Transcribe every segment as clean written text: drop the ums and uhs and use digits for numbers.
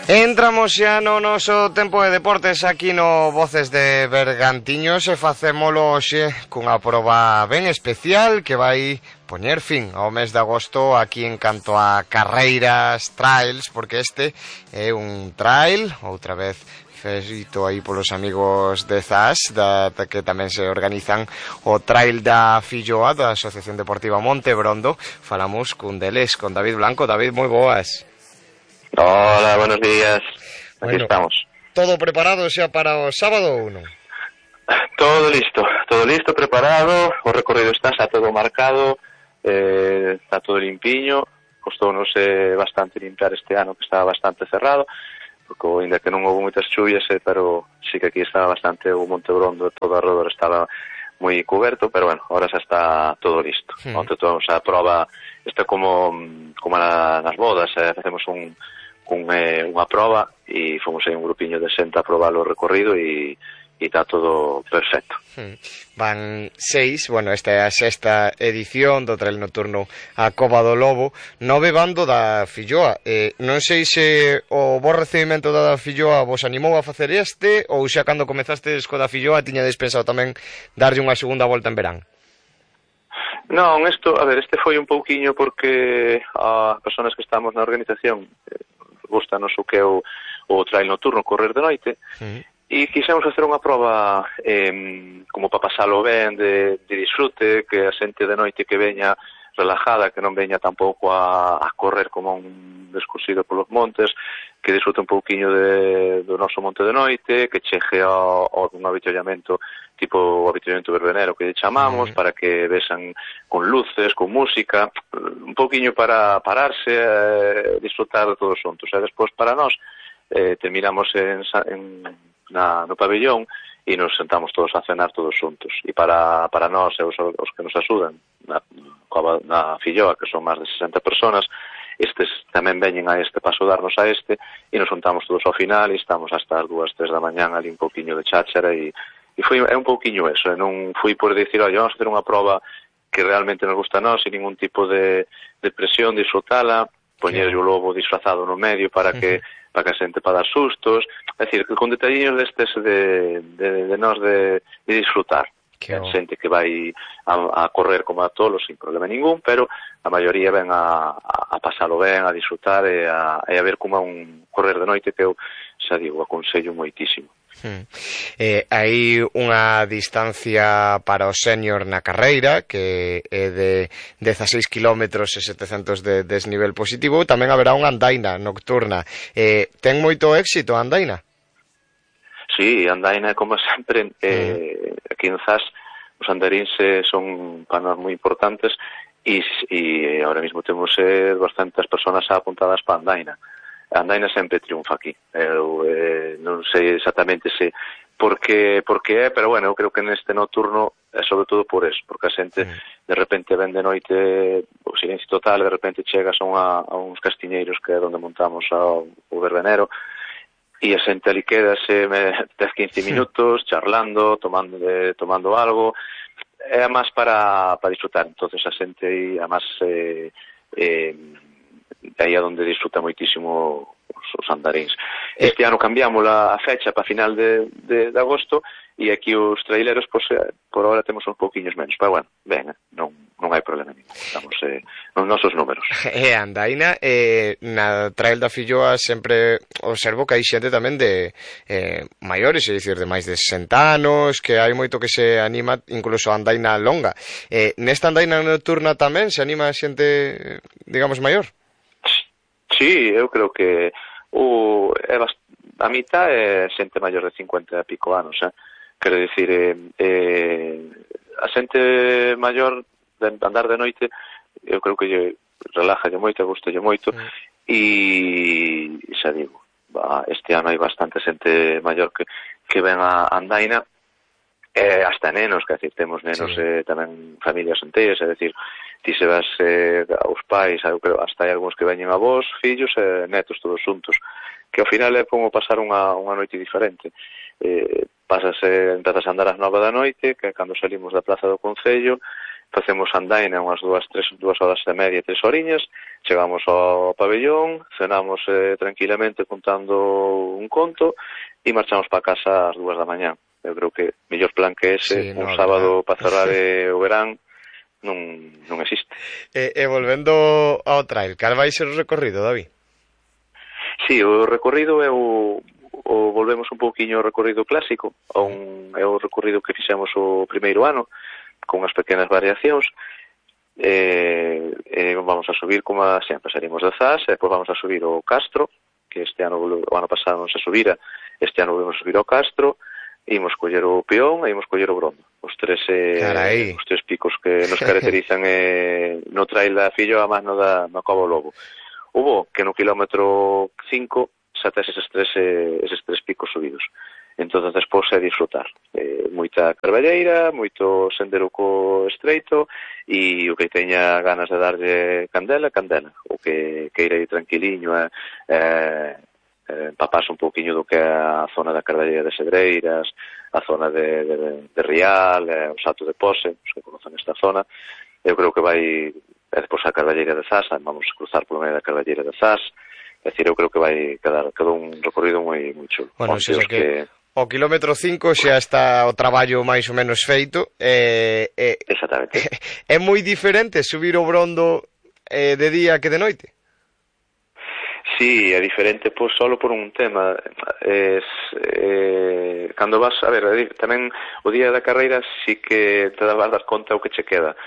Entramos xa no noso tempo de deportes aquí no Voces de Bergantiños e facémolo hoxe cunha proba ben especial que vai poñer fin ao mes de agosto aquí en canto a carreiras, trails, porque este é un trail, outra vez feito aí polos amigos de ZAS, que tamén se organizan o trail da Filloa, da Asociación Deportiva Montebrondo. Falamos cun deles, con David Blanco. David, moi boas. Hola, buenos días. Aquí estamos. Todo preparado xa para o sábado ou non? Todo listo, preparado. O recorrido está xa todo marcado, está todo limpiño. Costounos bastante limpiar este ano, que estaba bastante cerrado, porque ainda que non houve moitas chuvias, pero sí que aquí estaba bastante o Montebrondo, todo alrededor estaba moi coberto, pero bueno, ahora xa está todo listo. Onte tomamos a proba, está como nas bodas, facemos unha proba e fomos aí un grupiño de xente a probar o recorrido e está todo perfecto. Van 6, bueno, esta é a sexta edición do trail nocturno a Cova do Lobo, 9 bando da Filloa. Non sei se o bo recibimento da Filloa vos animou a facer este, ou xa cando comezastes co da Filloa tiñades pensado tamén darlle unha segunda volta en verán? Non, este foi un pouquiño porque as persoas que estamos na organización gustanos o que é o trail nocturno, correr de noite, e quixemos facer unha proba como para pasalo ben, de disfrute, que a xente de noite que veña relajada, que non veña tampouco a correr como un descosido polos montes, que disfrute un pouquiño do noso monte de noite, que chegue a un avituallamento tipo o avituallamento verbenero que lle chamamos, para que vexan con luces, con música, un pouquiño para pararse, disfrutar de todos xuntos. E despois para nós terminamos no pabellón e nos sentamos todos a cenar todos xuntos. E para nós, os que nos axudan na Filloa, que son máis de 60 personas, estes tamén veñen a este paso darnos a este e nos juntamos todos ao final e estamos hasta as 2, 3 da mañán ali un pouquiño de cháchara e é un pouquiño eso, non fui por dicir, oye, vamos a hacer unha proba que realmente nos gusta a nós, sin ningún tipo de presión, disfrutala, poñer o lobo disfrazado no medio para que a xente para dar sustos, é dicir, con detalliños destes de nós de disfrutar. Xente que vai a correr como a tolos sin problema ningún, pero a maioría ven a pasalo ben, a disfrutar e a ver como é un correr de noite que eu, xa digo, aconsello moitísimo. Hai unha distancia para o senior na carreira que é de 16 km e 700 de desnivel positivo. Tamén haberá unha andaina nocturna. Ten moito éxito a andaina? Sí, andaina, como sempre, aquí en ZAS os andaríns son para nós moi importantes e ahora mesmo temos bastantes personas apuntadas para andaina. A andaina sempre triunfa aquí. Eu non sei exactamente por que é, pero bueno, eu creo que neste nocturno é sobre todo por eso, porque a xente de repente ven de noite o silencio total, de repente chegas a uns castiñeiros que é onde montamos o verbenero e a xente ali quedase 10-15 minutos charlando, tomando algo, é máis para disfrutar. Entonces a xente aí, a máis aí é onde disfruta moitísimo os andaríns. Este ano cambiamos a fecha para final de agosto e aquí os traileros, por ahora temos uns pouquiños menos, pero bueno, ben, non hai problema ningún, estamos nos nosos números. Andaina, na trail da Filloa sempre observo que hai xente tamén de maiores, é dicir, de máis de 60 anos, que hai moito que se anima, incluso a andaina longa. Nesta andaina nocturna tamén se anima xente, digamos, maior? Sí, eu creo que a mitad é xente maior de 50 e pico anos, quero dicir, a xente maior de andar de noite, eu creo que lle relaja moito, gusta moito, e xa digo, este ano hai bastante xente maior que ven a andaina, hasta nenos, que decir, temos nenos tamén familias enteiras, é dicir, ti se vas aos pais, eu creo, hasta hai algúns que veñen a vos, fillos e netos todos xuntos, que ao final é como pasar unha noite diferente. Empezas a andar ás 9 da noite, que é cando salimos da Praza do Concello, facemos andaina unhas 2 horas e media, 3 horiñas, chegamos ao pabellón, cenamos tranquilamente contando un conto e marchamos para casa ás 2 da mañá. Eu creo que mellor plan que ese, un sábado para cerrar o verán, non existe. E volvendo ao trail, cal vai ser o recorrido, David? Sí, o recorrido é o volvemos un pouquiño ao recorrido clásico, é o recorrido que fixemos o primeiro ano, con unhas pequenas variacións. Vamos a subir, como sempre, salimos de Zas, e depois vamos a subir o Castro, que o ano pasado non se subira, este ano volvemos a subir ao Castro, imos coller o Peón e imos coller o Brondo. Os tres picos que nos caracterizan no trail da Fillo a mano da Cova Lobo. Hubo que no kilómetro 5 xa tes eses tres picos subidos. Entón, despois é disfrutar. Moita carballeira, moito sendero co estreito, e o que teña ganas de darlle candela. O que queira ir tranquiliño empaparse un pouquiño do que é a zona da carballeira de Cedreiras, a zona de Rial, o Salto de Pose, os que conocen esta zona. Eu creo que vai, despois a carballeira de Zas, vamos cruzar polo medio da carballeira de Zas. É dicir, eu creo que vai quedar un recorrido moi chulo. Bueno, xa que o kilómetro 5 xa está o traballo máis ou menos feito. Exactamente. É moi diferente subir o Brondo de día que de noite? Sí, é diferente solo por un tema. Cando vas, a ver, tamén o día da carreira sí que te vas dar conta o que che queda,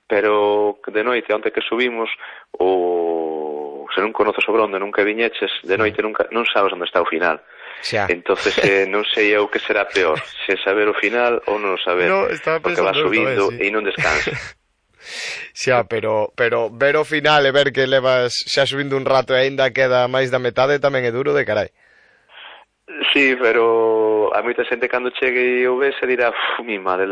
pero de noite, onde que subimos, se non conoces o Brondo, nunca viñeches, de noite non sabes onde está o final. Entonces non sei eu que será peor, se saber o final ou non saber, porque vas subindo e non descansas. Xa, pero ver o final e ver que levas xa subindo un rato e aínda queda máis da metade tamén é duro de carai. Sí, pero a moita xente cando chegue e o ve se dirá, mi madre,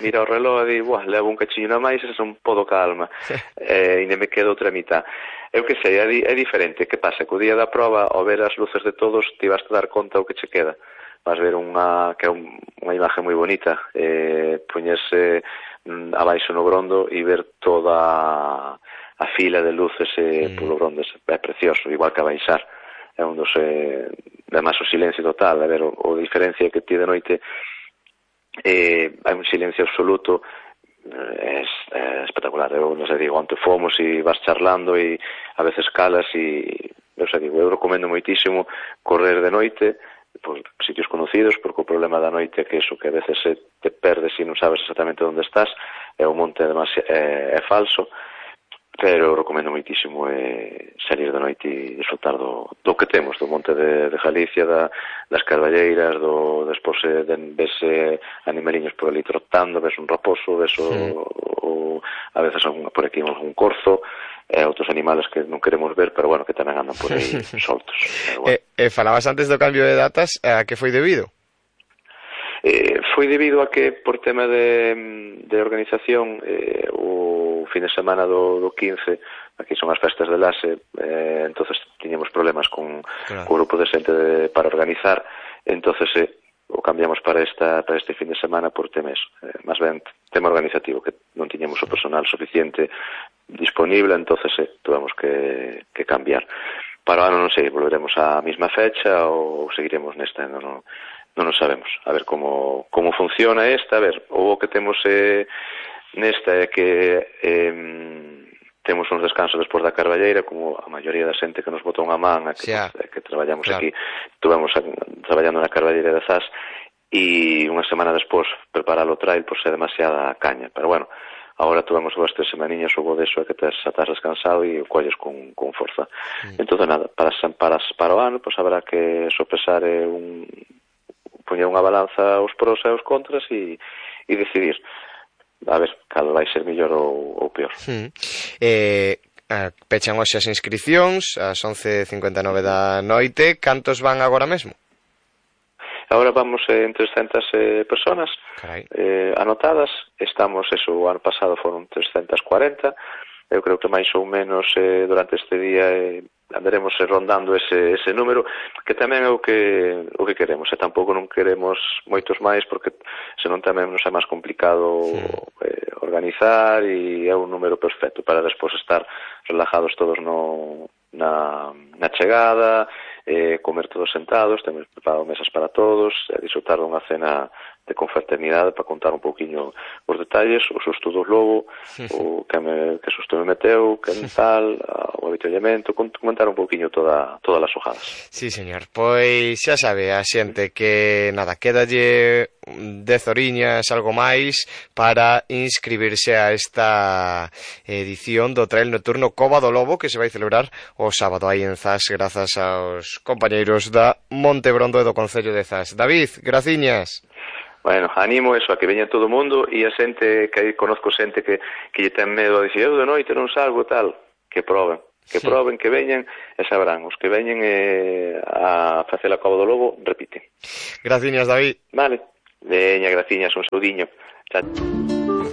mira o reloj e di, levo un cachiño na máis e son podo calma, e me quedo outra mitad. Eu que sei, é diferente. Que pasa? Que o día da prova, ao ver as luces de todos, ti vas a dar conta o que che queda. Vas ver que é unha imaxe moi bonita, poñerse abaixo no Brondo e ver toda a fila de luces polo Brondo, é precioso, igual que a baixar. É un dos además o silencio total, a ver, o diferencia que ti de noite hai un silencio absoluto, é espectacular. Eu non sei, digo, onte fomos e vas charlando e a veces calas e eu recomendo moitísimo correr de noite por sitios conocidos, porque o problema da noite é que a veces te perdes e non sabes exactamente onde estás, e o monte además é falso. Pero recomendo moitísimo salir de noite e disfrutar do que temos, do monte de Galicia, das carballeiras, despois ves animaliños por ali trotando, ves un raposo, ves a veces por aquí un corzo, outros animales que non queremos ver, pero bueno, que tamén andan por aí soltos. Falabas antes do cambio de datas, a que foi debido? Foi debido a que, por tema de organización, o fin de semana do 15, aquí son as festas de Lase, entonces tiñamos problemas con o grupo de xente para organizar, entonces o cambiamos para este fin de semana por temas, máis ben tema organizativo, que non tiñamos o personal suficiente disponible, entonces tuvemos que cambiar. Para o ano non sei, volveremos á mesma fecha ou seguiremos nesta, non nos sabemos. A ver como funciona esta. A ver, o que temos nesta é que temos uns descansos despois da carballeira, como a maioría da xente que nos botou unha man, que traballamos aquí, tuvemos traballando na carballeira de Zas, e unha semana despois preparar o trail por ser demasiada caña. Pero bueno, agora tuvemos 2-3 semaniñas, o bo deso é que estás descansado e o colles con forza. Entón, nada, para o ano, pois habrá que sopesar poñer unha balanza os pros e os contras e decidir a ver cal vai ser mellor ou peor. Pechan hoxe as inscripcións ás 11:59 da noite. Cantos van agora mesmo? Agora vamos en 300 personas anotadas. Estamos, o ano pasado foron 340. Eu creo que máis ou menos durante este día andaremos rondando ese número, que tamén é o que queremos, e tampouco non queremos moitos máis, porque senón tamén nos é máis complicado organizar e é un número perfecto para despois estar relajados todos na chegada, comer todos sentados, temos preparado mesas para todos, disfrutar dunha cena de confraternidade para contar un pouquiño os detalles, o susto do lobo, o que susto me meteu, que tal, o avituallamento, comentar un pouquiño todas as xogadas. Sí, señor. Pois xa sabe a xente que, nada, quédalle 10 horiñas, algo máis, para inscribirse a esta edición do Trail Nocturno Cova do Lobo, que se vai celebrar o sábado aí en Zas, grazas aos compañeiros da Montebrondo e do Concello de Zas. David, graciñas. Bueno, animo eso a que veña todo o mundo e a xente que aí conozco xente que lle ten medo a dicir eu de noite non salgo tal, que proben, que veñan e sabrán, os que veñen a facer a Cova do Lobo repiten. Graciñas, David. Vale, veña, graciñas, un saudiño. Chao.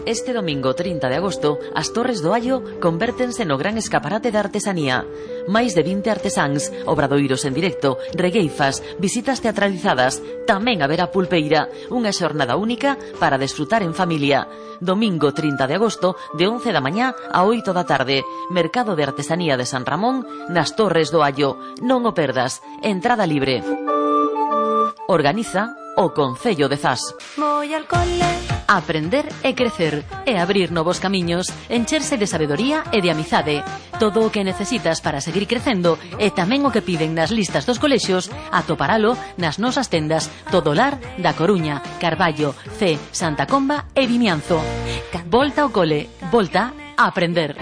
Este domingo 30 de agosto, as Torres do Allo convértense no gran escaparate da artesanía. Máis de 20 artesáns, obradoiros en directo, regueifas, visitas teatralizadas, tamén haberá pulpeira, unha xornada única para desfrutar en familia. Domingo 30 de agosto, de 11 da mañá a 8 da tarde, Mercado de Artesanía de San Ramón, nas Torres do Allo. Non o perdas, entrada libre. Organiza o Concello de Zas. Voy al cole. Aprender e crecer e abrir novos camiños, encherse de sabedoría e de amizade. Todo o que necesitas para seguir crecendo e tamén o que piden nas listas dos colexios, atoparalo nas nosas tendas Todolar da Coruña, Carballo, C, Santa Comba e Vimianzo. Volta ao cole, volta a aprender.